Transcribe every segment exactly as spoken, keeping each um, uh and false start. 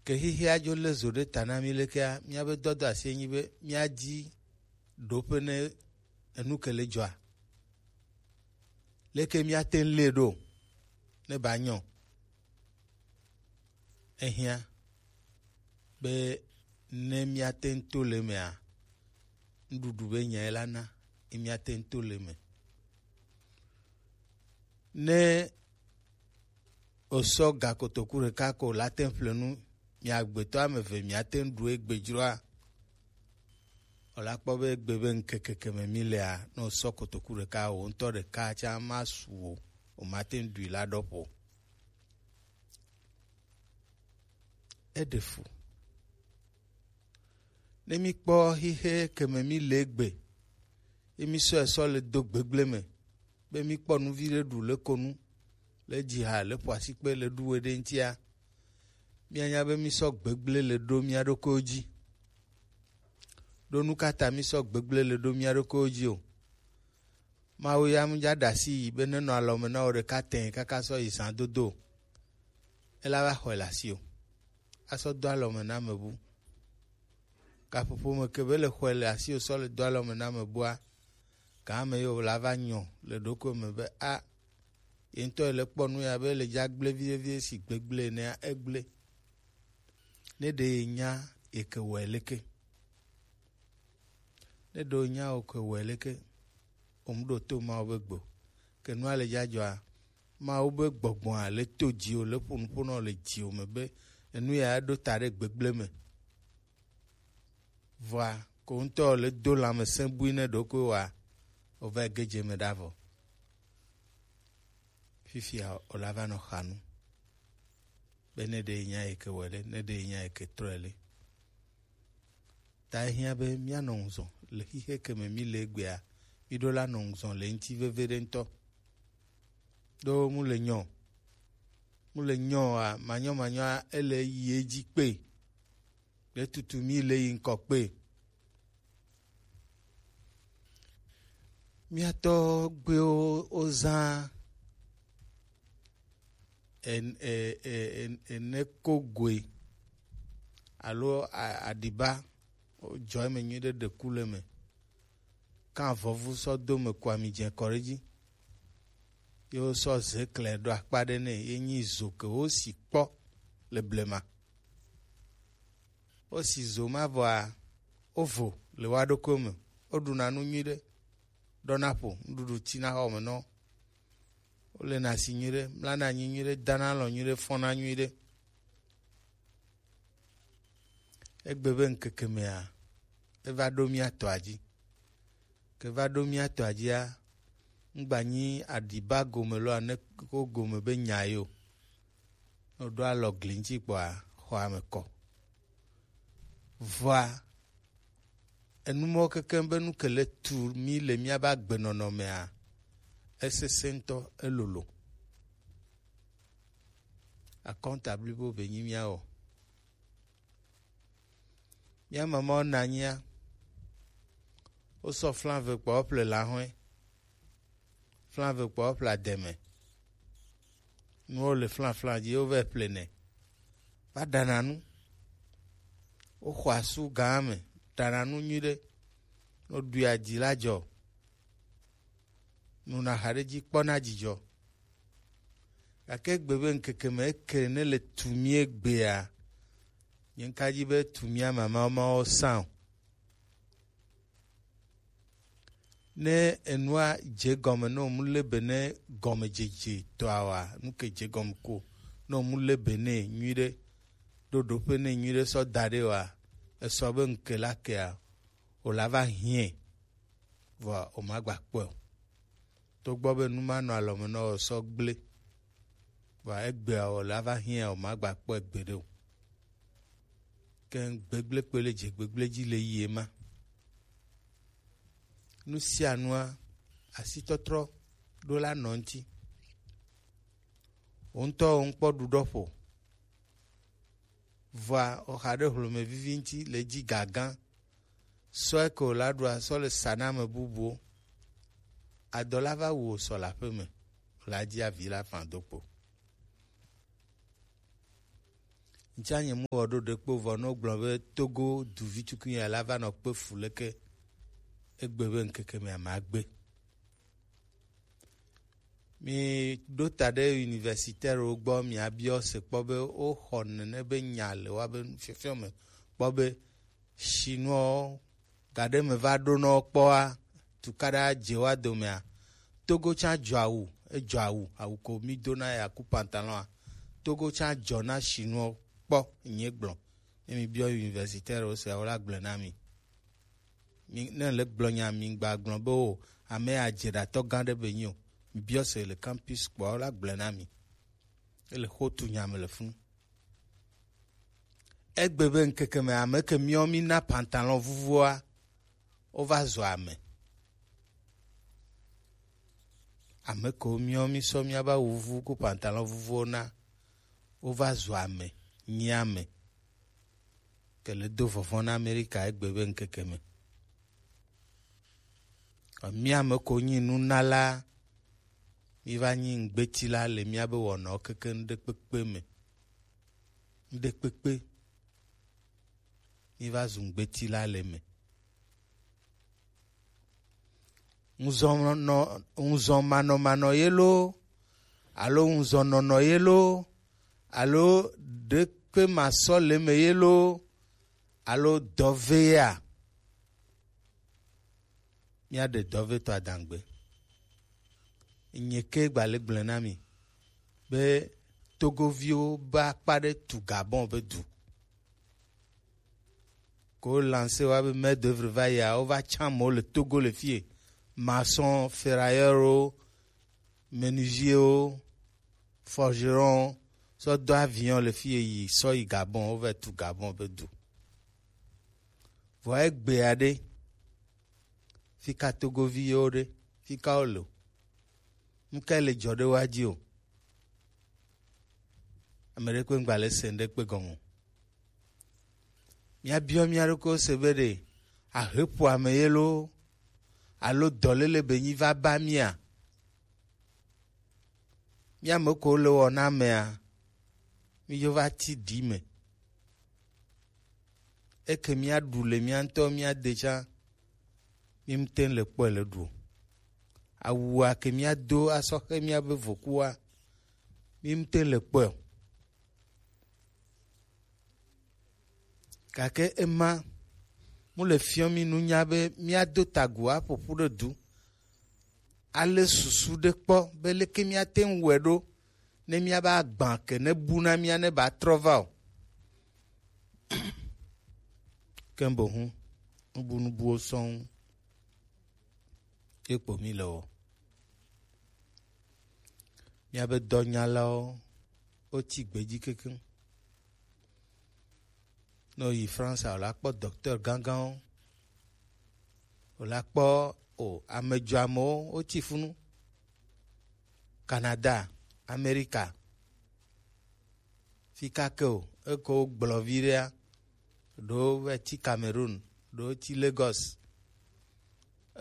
Ke xixia dzo lé zo ɖe ta na mí lekea, míabe dɔdɔ asi enyi be míadi ɖoƒe ne enu ke le dzɔa. Leke míate ŋu lée ɖo ne ba nyɔ? Ehiã be ne míate ŋu to le emea, nuɖuɖu be nyae la na ye míate ŋu to le eme. Ne wòsɔ ga kotoku ɖeka ko la te ŋu ƒle nu, mia agbetɔ ame eve miate ŋu ɖu egbe dzroa, wòla kpɔ be egbe be ŋkeke ke me mi lea, ne wòsɔ kotoku ɖeka, wò ŋutɔ ɖeka tsã masu o, wòmate ŋu ɖui la ɖɔ ƒo. Eɖe fu. Ne míkpɔ xixe ke me míle egbe, ye mísɔe sɔ le do gbegble me, be míkpɔ nu viɖe ɖu le ko nu, le dzi ha, le ƒo asikpe, le ɖu we ɖe ŋutia, míanya be mísɔ gbegble le ɖo mía ɖokuiwo dzi. Ɖo nu ka ta mísɔ gbegble le ɖo mía ɖokuiwo dzi o? Mawu ya mu dza ɖe asi yi be nenɔ alɔme na wò ɖeka tẽ kaka sɔ yi zã dodo o. Ela va xɔe le asi o. Asɔ do alɔme na ame bu. Gaƒoƒo me ke be le xɔe le asi o sɔ le do alɔme na ame bua, gã ame yi wòla va nyɔ le ɖokui me be a, ye ŋutɔ le kpɔ nu ya be le dza gblẽ viɖe viɖe si gbegblẽ nɛa, egblẽ. Ne ɖe ye nya ye ke wɔe leke? Ne ɖe wo nya wo ke wɔe leke? Wo mu ɖo to Mawu be gbe o. Ke nua le dza dzɔa, Mawu be gbɔgbɔa le to dziwò, le ƒo nuƒo na wò le dziwò me be enu ya ɖo ta ɖe gbegblẽ me. Vɔa, ko ŋutɔ le do lãmesẽ bui ne ɖokui wa, wòva ge dze me ɖa vɔ. Fifia wòla va nɔ xa nu. Be ne ɖe nya yi ke wɔ ɖe, ne ɖe nya yi ke trɔe le. Ta ehiã be míanɔ ŋuzɔ le xixe ke me mí le egbea, míɖo la nɔ ŋuzɔ le ŋuti veve ɖe ŋutɔ. Ɖo mu le nyɔ, mu le nyɔ a, manyɔ manyɔ a, ele yi edzi kpe. Ɖe tutu mí le yi ŋkɔ kpe. Mía tɔgbuiwo wozã en-, e-, e-, e-, eneko goe alo a-, aɖiba, wodzɔ eme nyuiɖe, ɖe ku le eme. Kan avɔvu sɔ do me, ku ami dze kɔ ɖe edzi. Ye wosɔ ze klẽ ɖo akpa ɖe nɛ, ye nyi zo ke wosi kpɔ le blema. Wosi zo ma vɔa, wovo le woa ɖokuiwo me. Woɖuna nu nyuiɖe, ɖɔna ƒo, nuɖuɖu tina xɔ me nɔ. Wolena asi nyuiɖe, mlana anyi nyuiɖe, dana alɔ̃ nyuiɖe, fɔna nyuiɖe. Egbe be ŋkeke mea, eva ɖo mía tɔa dzi. Ke va ɖo mía tɔa dzia, ŋgba nyi aɖiba gome lɔ ane ko gome be nya ye o. Ne woɖo alɔ gli ŋuti kpɔa, xɔa me kɔ. Vɔa, enu mɔwo kekeŋ be nu ke le tu mí le míabe agbenɔnɔ mea, esesẽ ŋutɔ, elolo. Akɔnta blibo be nyi míawɔ. Mía mamawo na anyia, wosɔ flan ve kpɔ woƒle lahɔe, flan ve kpɔ woƒle ademe. Nuwo le flan flan dzi, wovɛ ƒlenɛ. Va ɖana nu. Woxɔ asu gã me, ɖana nu nyuiɖe. Ne woɖui adzi la dzɔ. Nuna xa ɖe dzi kpɔna dzidzɔ. Gake egbe be ŋkeke me eke ne le tu mí egbea, nye ŋka dzi be tu mía mamawo mawo sã o. Ne enua dze gɔme ne wòmu le be ne gɔmedzedze tɔa wa, nu ke dze gɔme ko, ne wòmu le be ne nyuiɖe, ɖo ɖoƒe ne nyuiɖe sɔ da ɖe wa, esɔ be ŋke la kea, wòla va hiɛ, vɔa wòmagba kpɔe o. Togbɔ be nu ma nɔ alɔme nɔ wò sɔ gblẽ, vɔa egbea wòla va hiã wòmagba kpɔe gbeɖe o. Ke gbegblẽ kpe le dze gbegblẽ dzi le yi ema. Nu sia nua, asitɔtrɔ ɖo la nɔ ŋuti. Wò ŋutɔ wò ŋkpɔ ɖuɖɔ ƒo. Vɔa, wòxa ɖe hlome vivi ŋuti le dzi gagã. Sɔe ke wòla ɖua sɔ le sa na ame bubuwo. Adɔ la va wu wò sɔ le aƒe me, wòla dzi avi la fã do kpo. Ŋtsa nye mu wɔ ɖo ɖekpo vɔ no gblɔ be Togo duvi tukui ya la va nɔ kpe fu leke egbe be ŋkeke me ama gbe. Mi ɖo ta ɖe universitaire wo gbɔ, mi abiɔ se kpɔ be wo xɔ nene be nya le wa be fiɔfiɔ me kpɔ be Chinois gaɖe me va ɖo nɔ kpɔa, tukaɖa dze wa domea, Togo tsa dzɔ awu, edzɔ awu, awu ko mi do na ya ku pantalon a, Togo tsa dzɔ na Chinois kpɔ, nye gblɔ. Ne mi biɔ universitaire wo se, wo la gblɔ na mi. Mi, ne le gblɔ nya mi gba gblɔ be o, ame ya dze ɖatɔ gã ɖe be nyi o. Mi biɔ se le campus kpɔa, wo la gblɔ na mi. Ele xo tu nya me le funu. Egbe be ŋkeke me ame ke miɔ mi na pantalon vuvuoa, wova zu ame. Ame kewo miɔ mi sɔ miaba wuvu ku pantalon vuvuwo na, wova zu ame, nyi ame. Ke le do vɔvɔ̃ na Amerika egbe be ŋkeke me. Mi ame ko nyi nunala, mi va nyi ŋgbeti la le miabe wɔnawo keke ŋɖekpekpe me. Ŋɖekpekpe. Mi va zu ŋgbeti la le me. Ŋuzɔnɔ, ŋuzɔmanɔmanɔ ye lo, alo ŋuzɔnɔnɔ ye lo, alo ɖekpe masɔ le me ye lo, alo dɔvea. Míaɖe dɔvetɔ adangbe. Nye ke gba le gblẽ na mi be Togoviwo be akpa ɖe tu Gabon be du. Ko lancé wa be main d'œuvre va yia, wova tsã amewo le Togo le fie. Maçon, ferrailleur wo, menuisier wo, forgeron, sɔ do avion le fie yi, sɔ yi Gabon, wova tu Gabon be du. Vɔ egbea ɖe, fika Togovi yewo ɖe, fika wo le o? Nuka le dzɔ ɖe wa dzi o? Ame ɖe kpe ŋgba le se ŋɖe kpe gɔme o. Míabiɔ mía ɖokuiwo se be ɖe aheƒo ame ye loo, alo dɔléle be nyi va ba mía? Mía me ko le wɔ na amea, mí yo va ti ɖi me. Eke mía ɖu le mía ŋutɔ mía de tsã, mí ŋutɛ le kpɔe le ɖu o. Awua ke mía do asɔ xe mía be vokua, mí ŋutɛ le kpɔe o. Gake ema mu le fiɔ mí nunya be mía do tagu aƒoƒu ɖe du. Ale susu ɖe kpɔ be leke mía te ŋu wɔe ɖo ne mía ba gbã ke ne bu na mía ne ba trɔ va o. Ke bohu nubu nubuwo sɔŋ ye kpo mí le wɔ. Míabe dɔnyalawo, wotsi gbe dzi kekeŋ. Ne woyi France a, wòla kpɔ docteur gãgãwo, wòla kpɔ o, ame dzɔamewo, wotsi funu. Canada, Amerika, fi kake o, eko wogblɔ vi ɖea, ɖewo va tsi Cameroun, ɖewo tsi Lagos,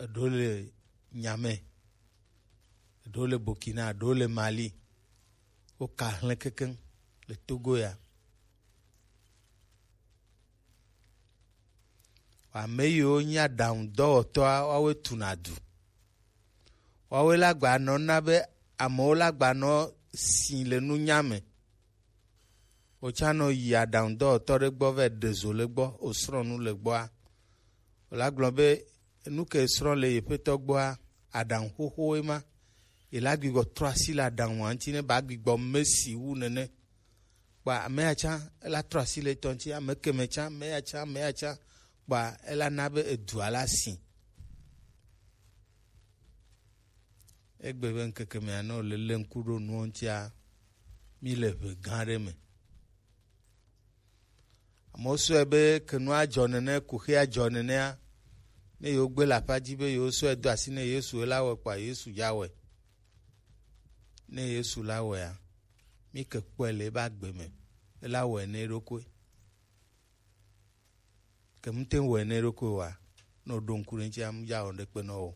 eɖewo le Niamey, eɖewo le Burkina, eɖewo le Mali. Woka hlẽ kekeŋ le Togo ya. Ame yiwo nyi aɖaŋudɔwɔtɔa, woawoe tuna du. Woawoe la gba nɔ na be amewo la gba nɔ si le nunya me. Wòtsã nɔ yi aɖaŋudɔwɔtɔ ɖe gbɔ va ɖe zo le gbɔ, wòsrɔ̃ nu le gbɔa, wòla gblɔ be nu ke srɔ̃ le yeƒetɔ gbɔa, aɖaŋu xoxowoe ma. Yela gbigbɔ trɔ asi le aɖaŋua ŋuti ne ba gbigbɔ me si wu nene. Kpa ame ya tsã, ela trɔ asi le etɔ ŋuti, ame keme tsã, ame ya tsã, ame ya tsã. Kpa ela na be edua la si. Egbe be ŋkeke mea, ne wòle lé ŋku ɖo nuwo ŋutia, mí le ʋe gã aɖe me. Amewo sɔe be ke nua dzɔ nene, kuxia dzɔ nenea, ne yewo gbe le aƒa dzi be yewo sɔe do asi ne Yesu, ela wɔe kpɔa, Yesu ya wɔe. Ne Yesu la wɔea, mí ke kpɔe le ebe agbe me, ela wɔe ne eɖokui. Ke mute ŋu wɔe ne eɖokui oa, ne wòɖo ŋku ɖe eŋuti, amu ya wɔ ɖekpe nɔ wò.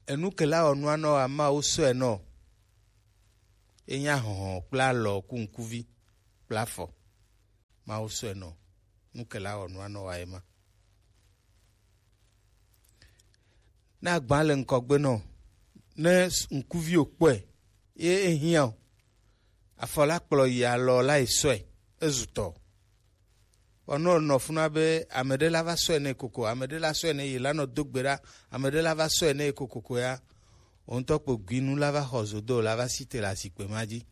Enu ke la wɔ nua nɔ wò, ama wo sɔe nɔ. Enya hɔhɔ kple alɔ ku ŋkuvi kple afɔ. Mawu sɔe nɔ. Nu ke la wɔ nua nɔ wa ye ma. Ne agba le ŋkɔgbe nɔ, ne ŋkuvi o kpɔe, ye ehiã o, afɔ la kplɔ yi alɔ la yi sɔe, ezu tɔ. Vɔ ne wònɔ funa be ame ɖe la va sɔe nɛ koko, ame ɖe la sɔe nɛ yi la nɔ do gbe ɖa, ame ɖe la va sɔe nɛ kokoko ya, wò ŋutɔ kpo gui nu la va xɔ zodo la va si te le azikpe ma dzi.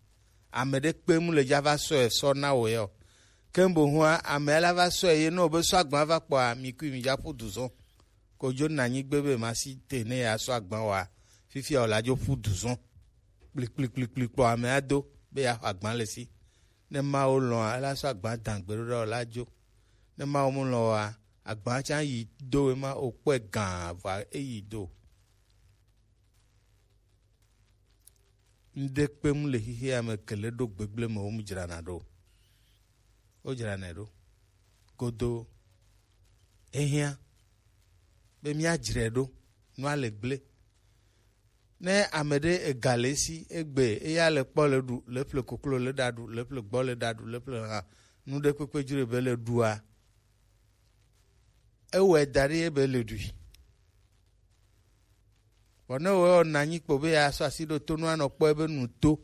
Ame ɖe kpe mu le dza va sɔe sɔ na wò ya o. Ke boŋua, ame la va sɔe ye ne wòbe sɔ agba va kpɔa, mi kui mi dza ƒu du zɔ. Ko dzo na nyigbe be ma si te ne ya sɔ agba wa, fifia wòla dzo ƒu du zɔ. Kplikplikplikpli kpɔ ame ado be ya xɔ agba le si. Ne Mawu lɔ̃a, ela sɔ agba dã gbeɖoɖa wòla dzo. Ne Mawu mu lɔ̃ wa, agba tsã yi do ema wòkpɔe gã vɔa eyi do. Ŋɖe kpem le xixea me ke le ɖo gbegblẽ me wo mu dzrana ɖo. Wo dzranae ɖo. Godo. Ehiã be míadzrae ɖo. Nua le gblẽ. Ne ame ɖe ega le esi egbe eya le kpɔ le ɖu, le ƒle koklo le ɖa ɖu, le ƒle gbɔ le ɖa ɖu, le ƒle hã, nu ɖe kpekpe dzro be le ɖua, ewɔe da ɖi ebe le ɖui. Vɔ ne wòwɔ nɔ anyi kpo be yeasɔ asi ɖo to nu anɔ kpɔ ebe nu to,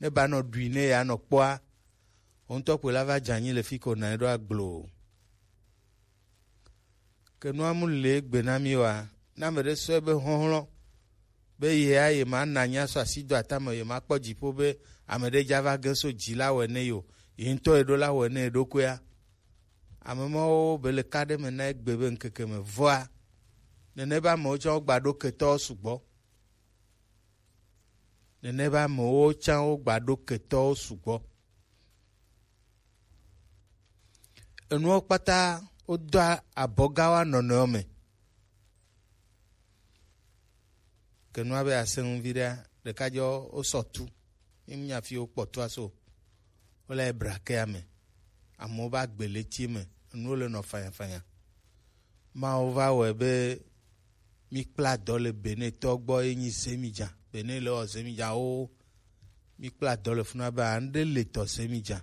ne ba nɔ ɖui ne yeanɔ kpɔa, wò ŋutɔ kpoe la va dze anyi le fi ko nɔ anyi ɖo agbloo. Ke nua mu le egbe na mí oa, ne ame ɖe sɔ ebe xɔxlɔ̃ be yea yemana nya sɔ asi do atame, yemakpɔ dziƒo be ame ɖe dza va ge so dzi la wɔ nɛ yi o, ye ŋutɔ yeɖo la wɔ nɛ yeɖokuia, ame mawo be le ka ɖe me na egbe be ŋkeke me vɔa, nene be amewo tsã wogba ɖo ketɔwo sugbɔ. Nene be amewo tsã wogba ɖo ketɔwo sugbɔ. Enuwo kpata wodoa abɔga wa nɔnɔewo me. Ke nua be asẽ ŋu viɖea, ɖeka dzɔ wosɔ tu. Ye ŋu nya fi wokpɔ tua so. Wole brakea me. Amewo va gbe le tie me. Enuwo le nɔ fanyafanya. Mawu va wɔe be mi kpla dɔ le Benetɔ gbɔ ye nyi Zemidza. Bene le wɔ Zemidza wo. Mi kpla dɔ le funa be aŋɖe le tɔ Zemidza.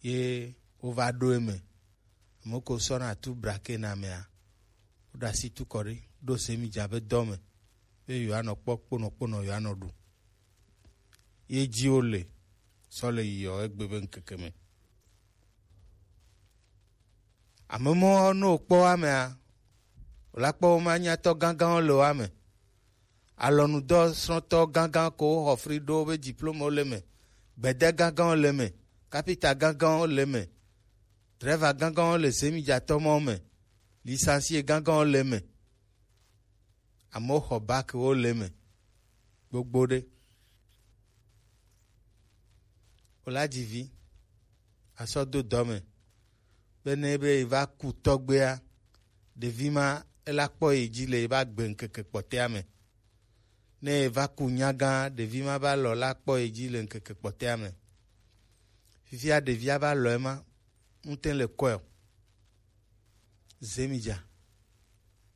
Ye wova ɖo eme. Ame ko sɔna tu brake na amea, woɖe asi tu kɔ ɖi, ɖo Zemidza be dɔ me, be yewoanɔ kpɔ kponɔkponɔ yewoanɔ ɖu. Ye dzi wole sɔ le yiɔ egbe be ŋkeke me. Ame mɔ ne wòkpɔ amea, wòla kpɔ wo ma nyatɔ gãgãwo le wo ame. Alɔnudɔ srɔ̃tɔ gãgã ko woxɔ fri ɖo wobe diplômewo le eme, gbede gãgãwo le eme, kapita gãgãwo le eme, drɛva gãgãwo le Zemidzatɔ mawo me, lisansie gãgãwo le eme, amewo xɔ bac wo le eme gbogbo ɖe. Wola dzi vi asɔ do dɔ me. Be ne be eva ku tɔgbea, ɖevi ma ela kpɔ yi dzi le eba gbe ŋkeke kpɔtɛa me. Ne eva ku nyagã, ɖevi ma ba lɔ la kpɔ yi dzi le ŋkeke kpɔtɛa me. Fifia ɖevia ba lɔ ema, ŋute le kɔe o. Zemidza.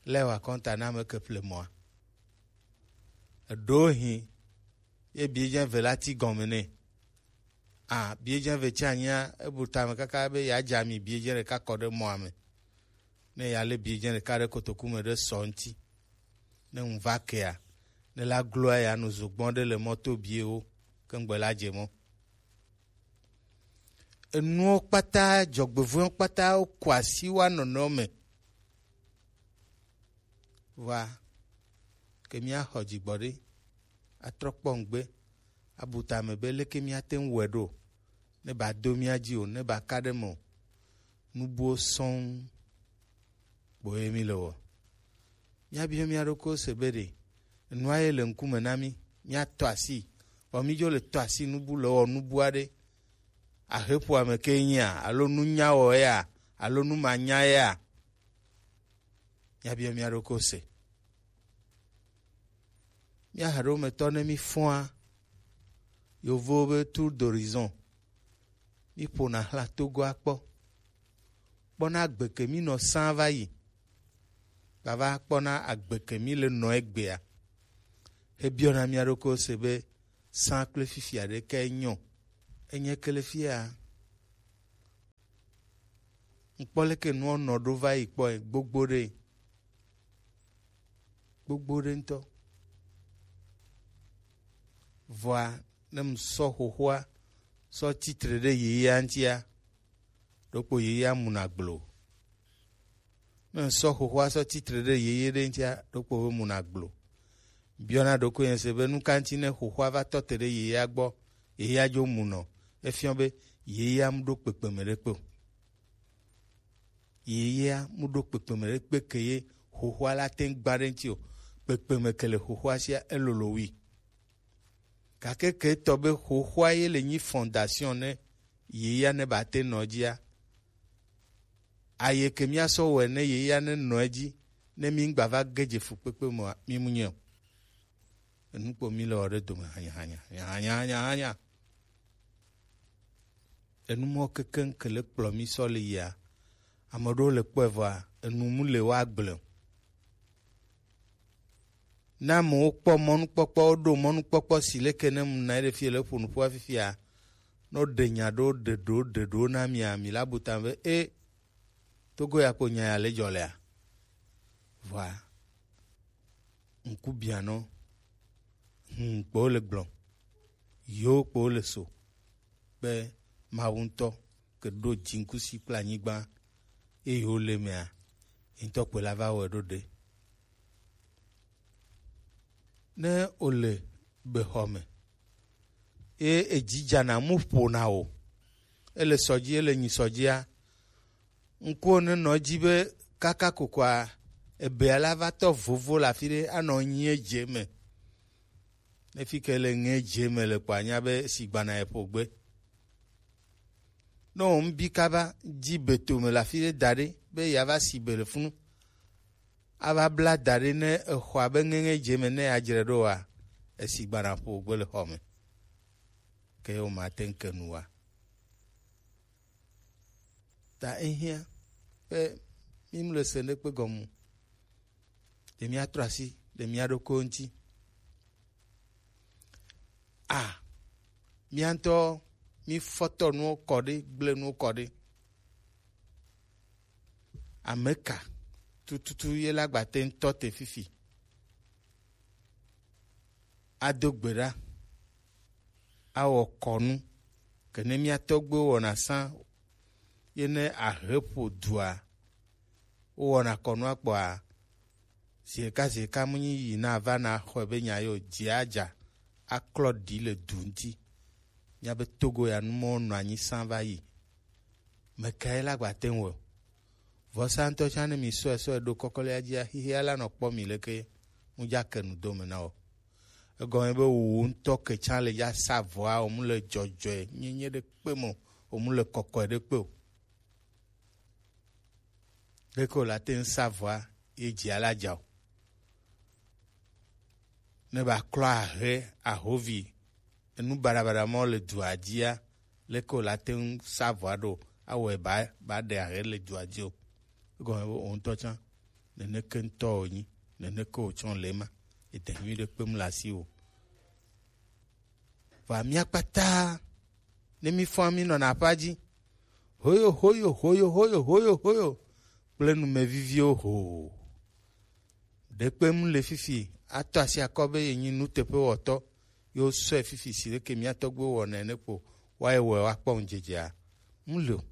Lɛ wa kɔnta na me ke ple mɔa. Eɖo hin ye biedzɛ ve la ti gɔme nɛ. A, biedzɛ ve tsi anyia, ebu tame kaka be yeadze ami biedzɛ ɖeka kɔ ɖe mɔa me. Ne yealé biedzɛ ɖeka ɖe kotoku me ɖe sɔ ŋuti. Ne ŋu va kea, ne la gloa yeanu zogbɔn ɖe le mɔto biewo, ke ŋgbe la dze mɔ. Enuwo kpata, dzɔgbevuwo kpata, woku asi wa nɔnɔewo me. Vɔa, ke míaxɔ dzigbɔɖi, atrɔ kpɔ ŋgbe, abu tame be leke míate ŋu wɔe ɖo, ne ba do mía dzi o, ne ba ka ɖe me o. Nu buwo sɔŋ kpoe mí le wɔ. Míabiɔ mía ɖokuiwo se be ɖe enua ye le ŋkume na mí, míatɔ asi, vɔ mí dzo le tɔ asi nubu le wɔ nubu aɖe. Aheƒoame ke nyia, alo nunyawɔ ya, alo numanya ya? Míabiɔ mía ɖokuiwo se. Mía haɖewometɔ ne mí fɔa yovowo be tour d'horizon, mí ƒona xla Togoa kpɔ, kpɔna gbe ke mí nɔ sã va yi, gava kpɔna agbe ke mí le nɔ egbea. Hebiɔna mía ɖokuiwo se be sã kple fifia ɖe kae nyɔ? Enye ke le fia? Ŋkpɔ leke nua nɔ ɖo va yi kpɔ gbogbo ɖe, gbogbo ɖe ŋutɔ. Vɔa, ne ŋsɔ xoxoa sɔ titre ɖe yeyea ŋutia, ɖokpo yeyea muna gblo. Ne ŋsɔ xoxoa sɔ titre ɖe yeye ɖe ŋutia, ɖokpo be muna gblo. Biɔna ɖokuinye se be nu ka ŋuti ne xoxoa va tɔ te ɖe yeyea gbɔ, yeyea dzo munɔ, efiɔ be yeyea mu ɖo kpekpeme ɖe kpe o. Yeyea mu ɖo kpekpeme ɖe kpe ke ye xoxoa la te ŋu gba ɖe ŋuti o. Kpekpeme ke le xoxoa sia elolo wi. Gake ke etɔ be xoxoa ye le nyi fondation ne yeyea ne ba te nɔ dzia, aye ke mía sɔ wɔe ne yeyea ne nɔ edzi, ne mí ŋgba va ge dze fukpekpe me oa, mí mu nyɛ o. Enu kpo mí le wɔ ɖe dome hanya, hanya, hanya, hanya, hanya. Enu mɔ kekeŋ ke le kplɔ mí sɔ le yia. Ame ɖewo le kpɔe vɔa, enu mu le wa gblẽ o. Ne amewo kpɔ mɔnukpɔkpɔ, woɖo mɔnukpɔkpɔ si leke ne mu na ɖe fie le ƒo nuƒoa fifia, ne woɖe nya ɖewo, ɖe ɖewo, ɖe ɖewo na mia, mi la bu ta be, e, Togo ya kpo nya ya le dzɔ lea? Vɔa, ŋku bianɔ, hum kpo le gblɔ, yo kpo le so, be Mawu ŋutɔ ke ɖo dziŋkusi kple anyigba, eye wole mea, ye ŋutɔ kpoe la va wɔe ɖo ɖe. Ne wole bexɔ me, ye edzi dzana mu ƒona o, ele sɔ dzi, ele nyi sɔ dzia, ŋkuwo nenɔ edzi be kaka kokoa ebea la va tɔ vovo le afi ɖe anɔ nyi edze me. Ne fi ke le ŋe dze me le kpɔ anya be sigbana ye ƒo gbe. Ne wo ŋbi kaba dzi beto me le afi ɖe da ɖe be yeava si be le funu, ava bla da ɖe ne exɔa be ŋeŋe dze me ne yeadzre ɖo oa, esigbana ƒo gbe le xɔ me. Ke wo ma te ŋu ke nu wa. Ta ehiã be mí mu le se ɖekpe gɔme o. Ɖe míatrɔ asi ɖe mía ɖokuiwo ŋuti. A, mía ŋutɔ mí fɔtɔ nuwo kɔ ɖe, gblẽ nuwo kɔ ɖe. Ame ka tututu ye la gba te ŋu tɔ te fifi? Ado gbe ɖa, awɔ kɔnu, ke ne mía tɔgbuiwo wɔna sã, ye ne ahe ƒo dua, wowɔna kɔnua kpɔa, ziɖeka ziɖeka mu nyi yi na va na xɔe be nya yo, dzia dza aklɔ ɖi le du ŋuti. Mía be Togo ya nu mɔ nɔ anyi sã va yi. Mekae la gba te ŋu wɔ? Vɔsa ŋutɔ tsã ne mi sɔe sɔe ɖo kɔkɔlea dzia, xixia la nɔ kpɔ mi leke mu dza ke nu dome na wɔ. Egɔme be wò ŋutɔ ke tsã le dza sa vɔa, wò mu le dzɔdzɔe nyenye ɖe kpe me o, wò mu le kɔkɔe ɖe kpe o. Ɖeke wò la te ŋu sa vɔa, ye dzia la dza o. Ne ba klɔ ahe ahovi, enu baɖabaɖa mɔ le dua dzia, leke wòle ate ŋu sa vɔa ɖo, awɔe ba, ba ɖe ahe le dua dzi o. Egɔme be wò ŋutɔ tsã, neneke ŋutɔ wònyi, neneke wòtsɔ le ema. Ede nyui ɖe kpem le asi o. Vɔa mía kpata, ne mí fɔa, mí nɔna aƒea dzi. Hoyo, hoyo, hoyo, hoyo, hoyo, hoyo. Kple numeviviwo ho. Ɖekpe mu le fifi, atɔ asi akɔ be yenyi nuteƒewɔtɔ, ye wosɔe fifi si leke mía tɔgbuiwo wɔna ene kpo, woayi wɔe woakpɔ ŋudzedzea? Mu le o.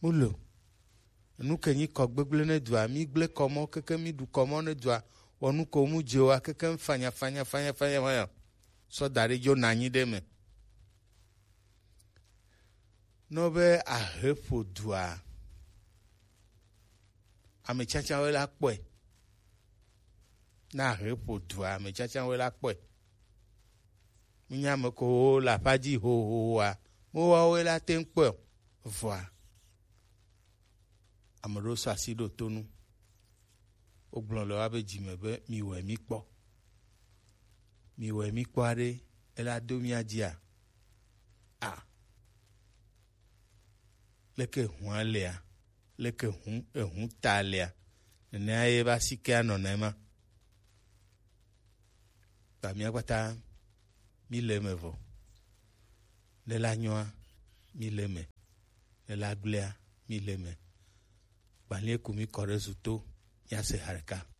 Mu le o. Enu ke nyi kɔ gbegblẽ ne dua, mí gblẽ kɔ mɔ keke mí ɖu kɔ mɔ ne dua, wɔ nu ko mu dze wa keke fanya, fanya, fanya, fanya, fanya. Sɔ da ɖe dzo na anyi ɖe me. Nɔ be ahe ƒo dua, ame tsatsawoe la kpɔe. Ne ahe ƒo dua, ame tsatsawoe la kpɔe. Mínya ame kewo le aƒea dzi hohohoa, woawoe la te ŋu kpɔe o. Vɔa, ame ɖewo sɔ asi ɖo to nu. Wogblɔ le woabe dzi me be, miwɔe mí kpɔ. Miwɔe mí kpɔ aɖe, ela do mía dzia? A, leke hũa lea? Leke hũ, ehũ ta lea? Nenea ye be asikea nɔna ema. Ta mía kpata mí le eme vɔ. Ne la nyɔa, mí le eme. Ne la gblea, mi le me. Gbalie ku mi kɔ ɖe zu to. Mia se ha ɖeka.